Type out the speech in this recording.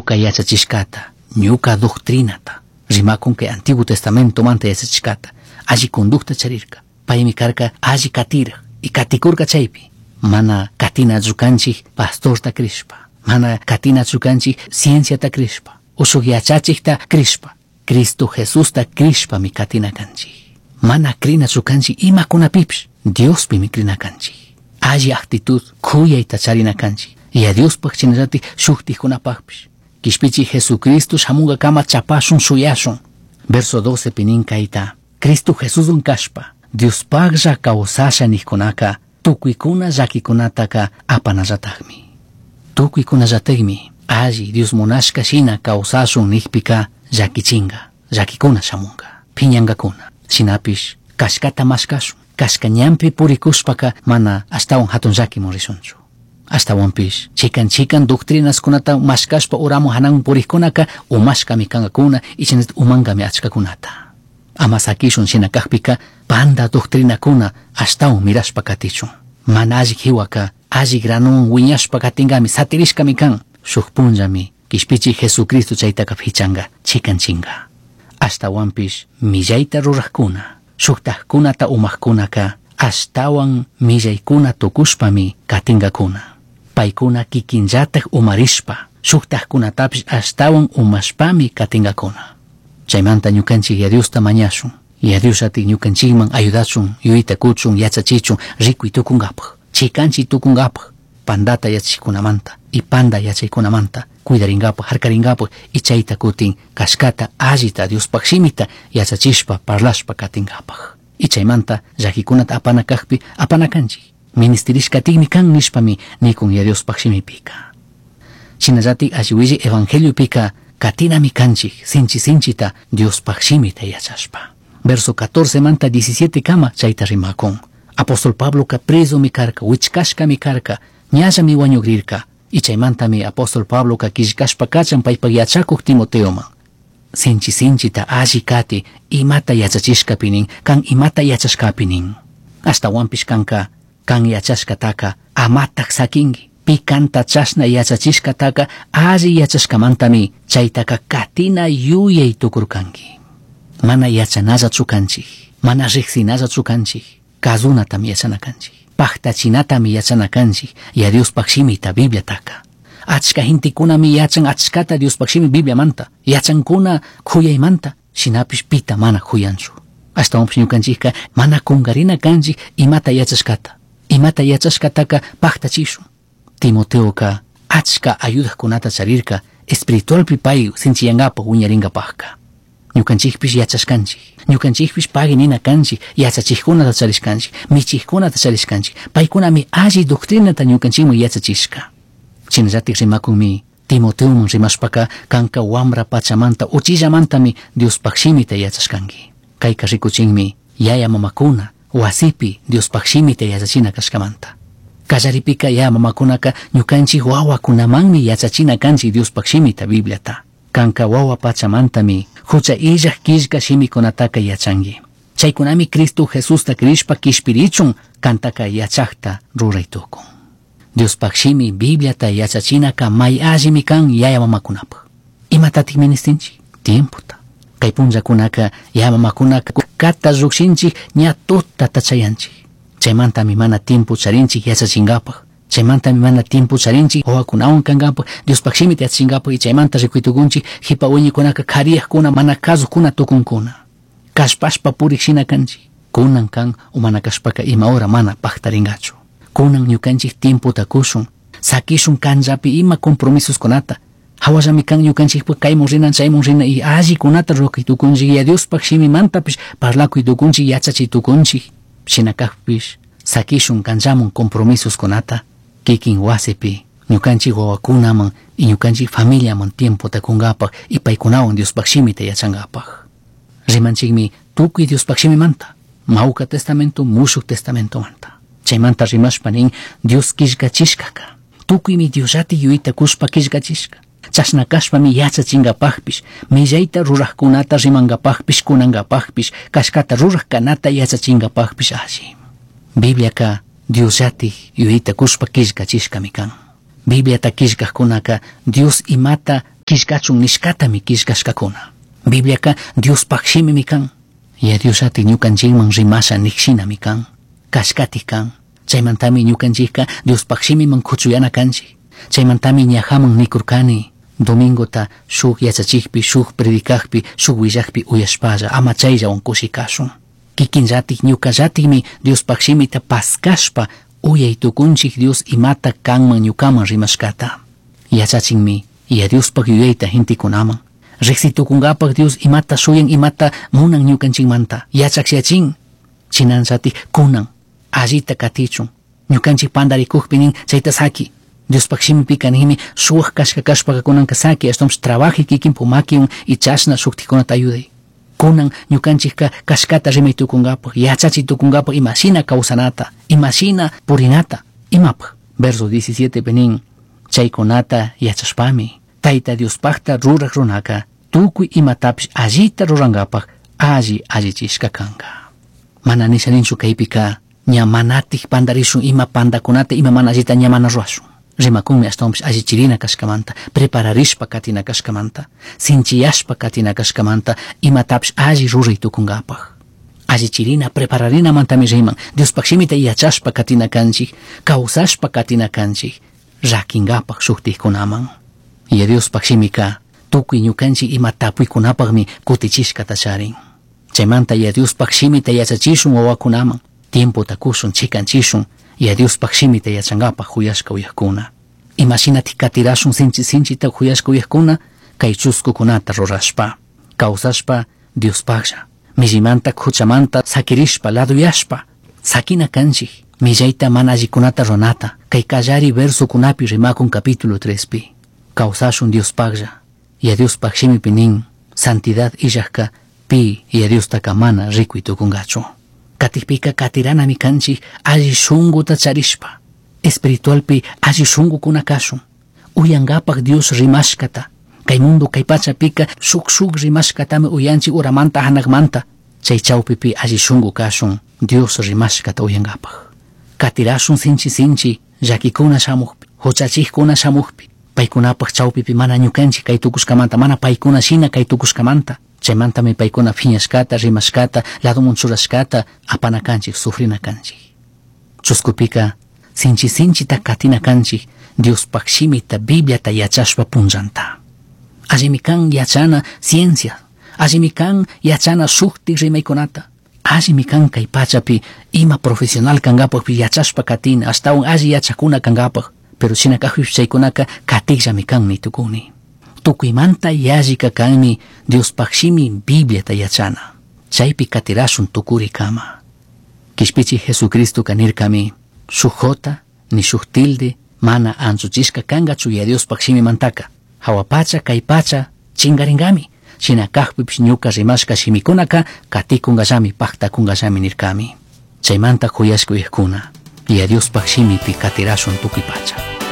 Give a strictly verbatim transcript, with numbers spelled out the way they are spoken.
Ñuca yachachishcata, ñuca doctrinata, rimakun kay Antiguo Testamentomanta yachachishcata, alli conducta charirka. Paymi karka alli katiraj y katikurka chaypi. Mana katinachu kanchik pastorta crishpa, mana katinachu kanchik cienciata crishpa, ushuk yachachikta crishpa, Cristo Jesusta crishpami katina kanchik. Mana crinachu kanchik imakunapipish, Diospimi crina kanchik. Alli actitud kuyayta charina kanchik. Y a Diospaj shinallatik shuktikkunapakpish. Kishpichi Jesucristo shamunkakama chapashun shuyashun. Verso doce pi nin kayta. Cristo Jesuswan kashpa, Diospaklla kawsasha nijkunaka, tukuykuna llakikunataka apanallatakmi. Tukuykunallatakmi alli Dios munashka shina kawsashun nijpika llakichinga, llakikuna shamunga, piñankakuna. Shinapish kashkata mashkashun, kashka ñanpi purikushpaka mana ashtawan hatun llakimun rishunchu. Ashtawanpish chikan chikan doctrinaskunata mashkashpa uramun hanan purikkunaka umashkami kankakuna y shinallatak umankami achkakunata. Ama sakishun shina kakpika panda doctrinakuna ashtawan mirashpa katichun. Mana alli jiwaka alli granuwan wiñashpa katinkami satirishkami kan. Shuk punllami kishpichi Jesucristo chaytaka pichanka chikanchinka. Ashtawanpish millayta rurakkuna, shuktakkunata umakkunaka ashtawan millaykuna tukushpami katinkakuna. Paykuna kikinllatak umarishpa, shuktakkunatapish ashtawan umashpami katinkakuna. Chaymanta ñukanchik ya Diosta mañashun. Ya Dios ati ñukanchikman ayudachun, yuyayta kuchun, yachachichun, rikuy tukunkapaj, chikanchi tukunkapaj, pandata yachachikunamanta y panda yachaykunamanta cuidarinkapaj, harkarinkapaj y chayta kutin kashkata allita Diospaj shimita yachachishpa parlashpa katinkapaj. Y chaymanta llakikunata apana kakpi apana kanchik. Ministirishkatikmi kan nishpami nikun ya Diospaj shimipika. Shinallatik alli evangeliopika katinami kanchik sinchi sinchita Diospaj shimita yachashpa. Verso catorce manta diecisiete kama chayta rimakun. Apóstol Pabloka presomi karka, wichkashkami karka, ñallami wañugrirka. Y chaymantami apóstol Pabloka killkashpa kachan paypak yachakuq Timoteoman. Sinchi sinchita alli kati imata yachachishkapi nin, kan imata yachashkapi nin. Ashtawanpish kanka, kan yachashkataka amatak sakinki. Pi kanta chashna yachachishkataka alli yachashkamantami chaytaka katina yuyay tukurkanki. Mana yachanallachu kanchik, mana riqsinallachu kanchik, kazunatami yachana kanchik, paktachinatami yachana kanchik, ya Diospaj shimita Bibliataka. Achka gentekunami yachan achkata Diospaj shimi Bibliamanta, yachankuna kuyaymanta, shinapish pita mana kuyanchu. Ashtawanpish ñukanchikka mana kunkarina kanchik imata yachashkata, imata yachashkataka paktachishun. Timoteoka achka ayudajkunata charirka espiritualpi pay sinchiyankapaj wiñarinkapajka. Ñukanchikpish yachashkanchik, ñukanchikpish pagui nina kanchik, yachachikkunata charishkanchik, michikkunata charishkanchik, paykunami alli doctrinata ñukanchikman yachachishka. Shinallatik rimakunmi Timoteoman rimashpaka kanka wambra pachamanta uchillamantami Diospaj shimita yachashkanki. Kayka rikuchinmi yaya mamakuna wasipi Diospaj shimita yachachina kashkamanta. Kallaripika yaya mamakunaka ñukanchik wawakunamanmi yachachina kanchik Diospaj shimita Bibliata. Kanka wawa pachamantami hucha illaj killka shimikunataka yachanki. Chaykunami Cristo Jesusta crishpa kishpirichun kantaka yachakta ruray tukun. Diospaj shimi Bibliata yachachinaka may allimi kan yaya mamakunapaj. Imatatik ministinchik? Tiempota. Kay punllakunaka yaya mamakunaka kata llukshinchik ña tutata chayanchik. Chaymantami mana tiempo charinchik yachachinkapaj. Chaymantami mana tiempo charinchik wawakunawan kankapaj, Diospaj shimita yachachinkapaj y chaymanta rikuytukunchik jipa wiñikunaka kariyajkuna mana kasukuna tukunkuna. Kashpashpa purik shina kanchik. Kunan kan o mana kashpaka ima hora mana paktarinkachu. Kunan ñukanchik tiempota kushun, sakishun kanllapi ima compromisoskunata. Hawallami kan ñukanchikpak kaymun rinan chaymun rina y allikunata ruray tukunchik y a Diospaj shimimantapish parlakuy tukunchik yachachiy tukunchik. Shina kakpish sakishun kanllamun compromisoskunata kikin wasipi ñukanchik wawakunaman y ñukanchik familiaman tiempota kunkapaj y paykunawan Diospaj shimita yachankapaj. Rimanchikmi tukuy Diospaj shimimanta, Mawka Testamento, Mushuk Testamentomanta. Chaymanta rimashpa nin Dios killkachishkaka. Tukuymi Diosllati yuyayta kushpa killkachishka. Chashna kashpami yachachinkapajpish, millayta rurajkunata rimankapajpish, kunankapajpish, kashkata ruraj kanata yachachinkapajpish alli. Bibliaka Diosllati yuyayta kushpa killkachishkami kan. Bibliata killkajkunaka Dios imata Killkachun nishkatami killkashkakuna. Bibliaka Diospaj shimimi kan. Yaya Diosllatik ñukanchikman rimasha nikshinami kan. Kashkatik kan. Chaymantami ñukanchikka Diospaj shimiman kuchuyana kanchik. Chaymantami ñajaman nikurkani. Domingota shuk yachachikpi, shuk predicakpi, shuk willakpi uyashpalla ama chayllawan kushikashun. Kikinllatik ñukallatikmi Diospaj shimita paskashpa uyay tukunchik Dios imata kanman ñukaman rimashkata. Yachachinmi Yaya Diospaj yuyayta gentekunaman. Riqsi tukunkapaj Dios imata shuyan imata munan ñukanchikmanta. Yachakyachin. Chinanllatik kunan allita katichun. Ñukanchik pandarikukpi nin chayta saki. Diospaj shimipika ninmi shuwak kashka kashpaka kunanka saki ashtawanpish trabaji kikinpuk makiwan y chashna shuktikunata ayuday. Kunan ñukanchikka kashkata rimay tukunkapaj, yachachi tukunkapaj imashina kawsanata, imashina purinata, imapaj. Verso diecisiete nin chaykunata yachashpami Tayta Diospajta ruraj runaka tukuy imatapish allita rurankapaj alli allichishka kanka. Mana nisha ninchu kaypika ña manatik pandarishun ima pandakunata ima mana allita ña mana rurashun. Rimakunmi ashtawanpish allichirina kashkamanta, prepararishpa katina kashkamanta, sinchiyashpa katina kashkamanta, imatapish alli ruray tukunkapaj. Allichirina, prepararinamantami riman, Diospaj shimita yachashpa katina kanchik, kawsashpa katina kanchik, rakinkapaj shuktikkunaman. Yaya Diospaj shimika tukuy ñukanchik ima tapuykunapajmi kutichishkata charin. Chaymanta Yaya Diospaj shimita yachachishun wawakunaman, tiempota kushun, chikanchishun, Yaya Diospaj shimita yachankapaj huyashka uyakuna. Imashinatik katirashun sinchi sinchita huyashka uyakuna, kay chuskukunata rurashpa, kawsashpa Diospajlla, millimanta huchamanta sakirishpa, laduyashpa, sakina kanchik, millayta mana allikunata runata, kay kallari versokunapi rimakun capítulo trespi. Kawsashun Diospajlla, Yaya Diospaj shimipi nin, santidad illajka pi Yaya Diostaka mana rikuy tukunkachu. Katikpika katiranami kanchik alli shunkuta charishpa, espiritualpi alli shunkukuna kashun, uyankapaj Dios rimashkata, kay mundo kay pachapika shuk shuk rimashkatami uyanchik uramanta hanakmanta, chay chawpipi alli shunku kashun Dios rimashkata uyankapaj. Katirashun sinchi sinchi llakikuna shamukpi, huchachikkuna shamukpi, paykunapaj chawpipi mana ñukanchik kay tukushkamanta, mana paykuna shina kay tukushkamanta, chaymantami paykuna phiñashkata, rimashkata, ladomun churashkata apana kanchik, sufrina kanchik. Chuskupika sinchi sinchita katina kanchik Diospaj shimita, Bibliata yachashpa punllanta. Allimi kan yachana ciencia, allimi kan yachana shuktik rimaykunata, allimi kan kay pachapi ima profesional kankapajpi yachashpa katina, ashtawan alli yachakuna kankapaj, pero shina kajpish chaykunaka katikllami kan nitukuni. Tukuymanta yallika kanmi Diospaj shimi Bibliata yachana. Chaypi katirashun tukurikama. Kishpichi Jesucristoka nirkami, shuk jota ni shuk tilde mana anchuchishka kankachu Yaya Diospaj shimimantaka. Hawa pacha kay pacha chingaringami. Shina kajpipish ñuka rimashka shimikunaka katikunkallami, paktakunkallami nirkami. Chaymanta huyashka uyajkuna, Yaya Diospaj shimipi katirashun tukuy pacha.